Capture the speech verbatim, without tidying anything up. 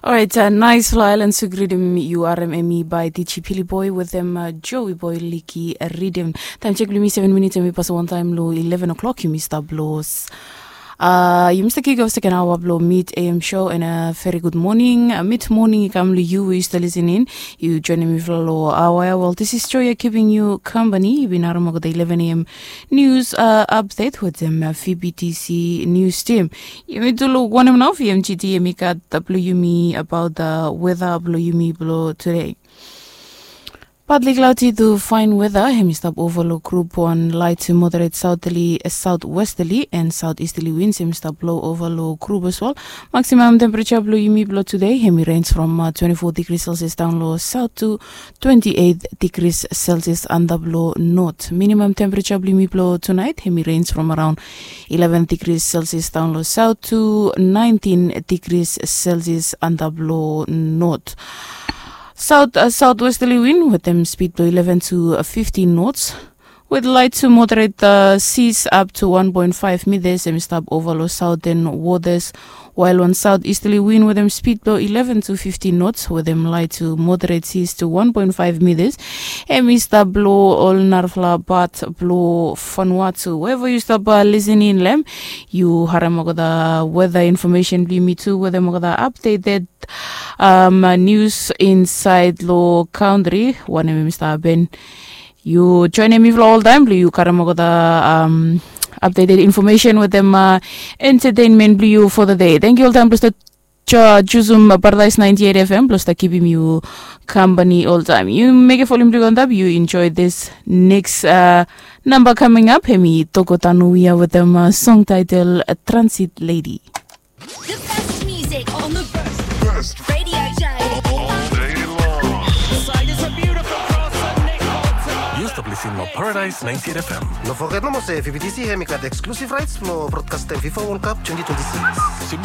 Orait, naesfala aelan suk ridim yu harem, hemi bae Diji Pili Boe wetem Joe Boe Liki ridim. Taem jek blong yumi seven minits, hemi pasim wantaem long eleven o'clock. Yumi stap long, yumi stap kik of seken aoa blong Mid A M show, and a veri gud moning, mid moning i kam long yu we yu stap lisin in. Yu joenem mifala long aoa ya. Wel, this is Joy ya kipim yu kampani. Yu bin harem olgeta eleven A M nius apdet wetem V B T C nius tim. Yumi tu luk wanem nao V M G T hemi gat blong yumi abaot weta blong yumi blong tude. Partly cloudy to fine weather, hemi stap ova long grup wan, light to moderate southerly, southwesterly and southeasterly winds hemi stap blo ova long grup as well. Maximum temperature blong yumi blong tude hemi range from twenty-four degrees Celsius daon long south to twenty-eight degrees Celsius antap long north. Minimum temperature blong yumi blong tonight hemi range from around eleven degrees Celsius daon long south to nineteen degrees Celsius antap long north. South, southwesterly wind wetem speed blong eleven to fifteen knots. With light to moderate seas up to one point five meters, hemi stap ova long southern waters. Wael wan southeasterly wind wetem speed blong eleven to fifteen knots wetem light to moderate seas to one point five meters, hemi stap blo ol narafala pat blo Vanuatu. Wherever yu stap lisin in long hem, yu harem olgeta weather information blong yumi tu wetem olgeta updated nius insaed long kantri, wanem hemi stap hapen. Yu joenem mifala oltaem blong yu karem olgeta updated information wetem entertainment blong yu for the day. Tangkiu oltaem blong stap jusum Paradise ninety-eight F M blong stap kipim yu kampani oltaem. Yu mekem volim blong yu antap, yu enjoy this next namba coming up. Hemi Toko Tanu ia wetem song title Transit Lady. The best music on the best radio show. Yu stap lisin long Paradise ninety-eight F M. No foget nomo se V B T C hemi gat exclusive rights blong brodkastem FIFA World Cup twenty twenty-six.